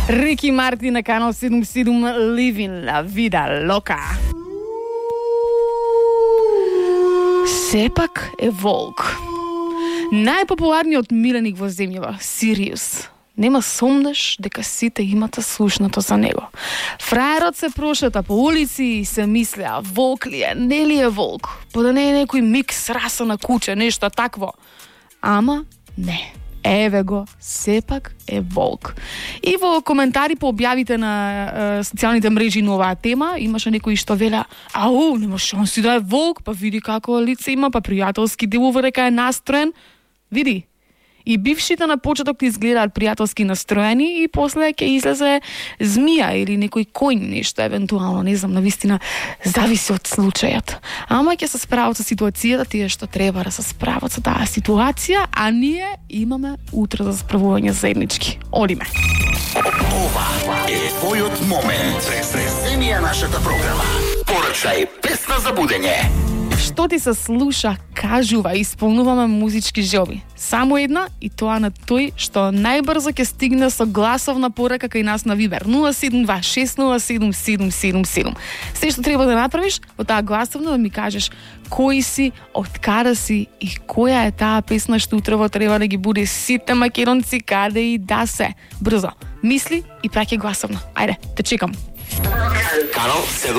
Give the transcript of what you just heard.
Рики Мартин на канал 77 Living La Vida Loca. Сепак е волк. Најпопуларниот миленик во земјава, Сириус. Нема сомнеш дека сите имате слушнато за него. Фраерот се прошета по улици и се мислеа, волк ли е, не ли е волк? Па да не е некој микс раса на куче, нешто такво. Ама не. Еве го, сепак е волк. И во коментари по објавите на социјалните мрежи на оваа тема, имаше некои што велеа, ау, нема шанси да е волк, па види како лице има, па пријателски делува дека е настроен. Види, и бившите на почеток ти изгледаат пријателски настроени и после ќе излезе змија или некој коњ, нешто евентуално, не знам, навистина зависи од случајот. Ама ќе се справат со ситуацијата тие што треба да се справат со таа ситуација, а ние имаме утре за справување заеднички. Одиме. Ова е твојот момент. Преземи ја нашата програма. Порачај песна за будење. Што ти се слуша, кажува, исполнуваме музички желби. Само една и тоа на тој што најбрзо ќе стигне со гласовна порака кај нас на Вибер 072-607-777. Се што треба да направиш во таа гласовна да ми кажеш кој си, од каде си и која е таа песна што утрево треба да ги буде сите македонци каде и да се. Брзо, мисли и праќај гласовна. Ајде, те чекам. Канал 7